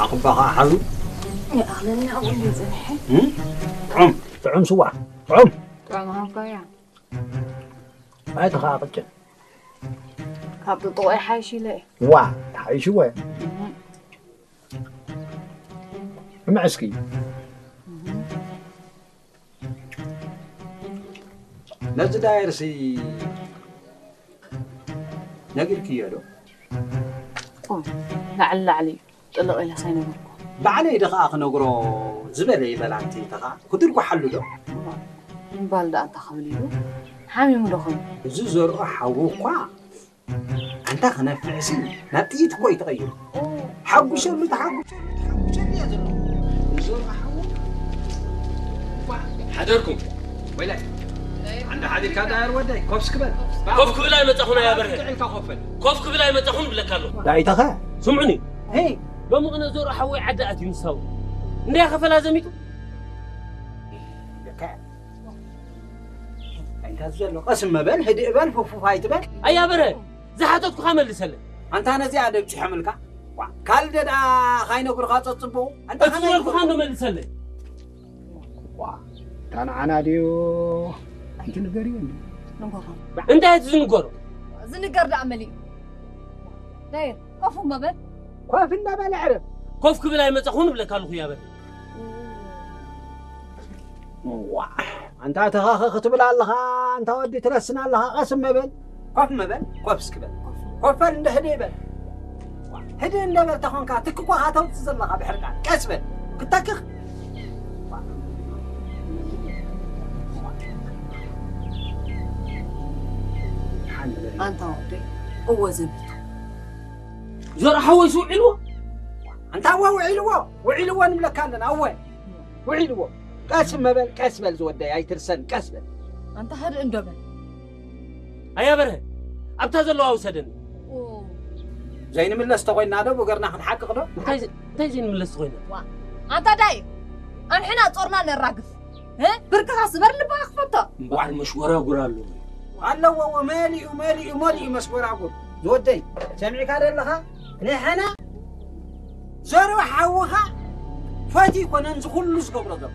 ዓቕባ ኸዓ ሓዙ። ይኣኽለኒ ኣብኡ እንድዩ ጸኒሐ። እም? ጥዑም፣ ጥዑም ስዋ። ጥዑም። ጥዑም ሃብካያ። ኣይ፣ ተኸዓ ቅጭን። ካብ ጥጥቖ ይሓይሽ ኢለ እየ። ዋ፣ ተሓይሽዎ እየ። እም። እምዕስኪ። እም። ነዚ ዳየርሲ ነጊርክዮ ዶ? ኦ፣ ላዕሊ ላዕሊ እዩ። ጥልቕ ኢለ ሳይነገርኩ። ባዕለይ ዶ ኸዓ ክነግሮ ዝበለ ይበል ኣንቲ ተኸዓ ክትድርጉሓሉ ዶ? እምባል ደኣ እንታይ ክብል ኢሉ? ሓሚሙ ዶ ኾን? እዚ ዘርኦ ሓዉ እኳ ኣንታ ክነፍዕሲ ናብ ጥይት እኮ እዩ ተቐይሩ። ሓጉሸሉ፣ ተሓጉሸሉ፣ ተሓጉሸሉ እያ ዘሎ። እዚ ዘርኦ ሓዉ እኳ ሓደርኩም። ወይላይ። ኣንዳ ሓዲርካ ዳየር ወደይ፣ ኮፍ እስኪ በል። ኮፍ ክብል ኣይመጻኹን ኣያ በርሀ። ጥዕልካ ኮፍ በል። ኮፍ ክብል ኣይመጻኹን ብለካ ኣለኹ። ዳይተኸ? ስምዑኒ። ሄይ። ሎሚ ቅነ ዘርኦ ሓወይ ዓዲ ኣትዩ ንሳው። እንድያ ከፈላ ዘሚቱ። ለካ። እንታይ ዘሎ? ቀስ መበል፣ ህድእ በል፣ ፉፉፍ ኣይትበል። ኣያ በርሀ፣ ዝሓተትኩኻ መልሰለይ። ኣንታ ነዚኣ ደብጭሖምልካ? ዋ፣ ካልደ ደኣ ካይነግሩኻ ጸጽብቑ? ኣንታ እቲ ከመይ ዝበልኩኻ እንዶ መልሰለይ። ዋ፣ እታ ንዓና ድዩ? ኣንቲ ንገርዮ እንዲ። ንገሮም። እንታይ እቲ ዝንገሮ? ዝንገር ደኣ መሊኡ። ዳይር፣ ኮፍ እሞ በል። ኮፍ እንዳበለ ዕረፍ። ኮፍ ክብል ኣይመጻኹን እብለካ ኣለኹ እያ በል። ዋ፣ ኣንታ ተኻኸ ክትብል ኣለኻ፣ ኣንታ ወዲ ትረስን ኣለኻ፣ ቀስ እሞ በል። ኮፍ እሞ በል፣ ኮፍ እስኪ በል። ኮፍ በል፣ እንደ ህደ ይበል። ህደ እንደ በል ተኾንካ፣ ትክኳኻ ተውጽእ ዘለኻ ብሕርቃን። ቀስ በል፣ ክተክኽ። ሓንቲ በል። ኣንታ ወደይ፣ እወ ዘሚቱ። ዘርኣ ሓወይስ ውዒልዎ? ኣንታ እወ ውዒልዎ፣ ውዒልዎ ንብለካ ኣለና፣ እወ። ውዒልዎ። ቀስ እሞ በል፣ ቀስ በል ዝወደይ፣ ኣይትርሰን፣ ቀስ በል። ኣንታ ህድእ እንዶ በል። ኣያ በርሀ፣ ኣብታ ዘለዋ ውሰደኒ። ኦ። ዘይንምለስ ተኾይንና ዶ ብእግርና ክንሓቅቕ ዶ? እንታይ ዘ-፣ እንታይ ዘይንምለስ ተኾይንና? ዋ፣ ኣንታ ዳይ፣ ኣንሕና ጾርና ነራግፍ። እ? ብርክኻ ስበር ልብኻ ክፈቶ። እምበኣር መሽጎራጉር ኣለዎ። ኣለዎ፣ መሊኡ፣ መሊኡ፣ መሊኡ መስጎራጉር። ዝወደይ፣ ሰሚዕካ ዶ ኣለኻ? ንሕና ዘርኡ ሓውኻ ፈትዩ ይኮነን እዚ ኩሉ ዝገብሮ ዘሎ።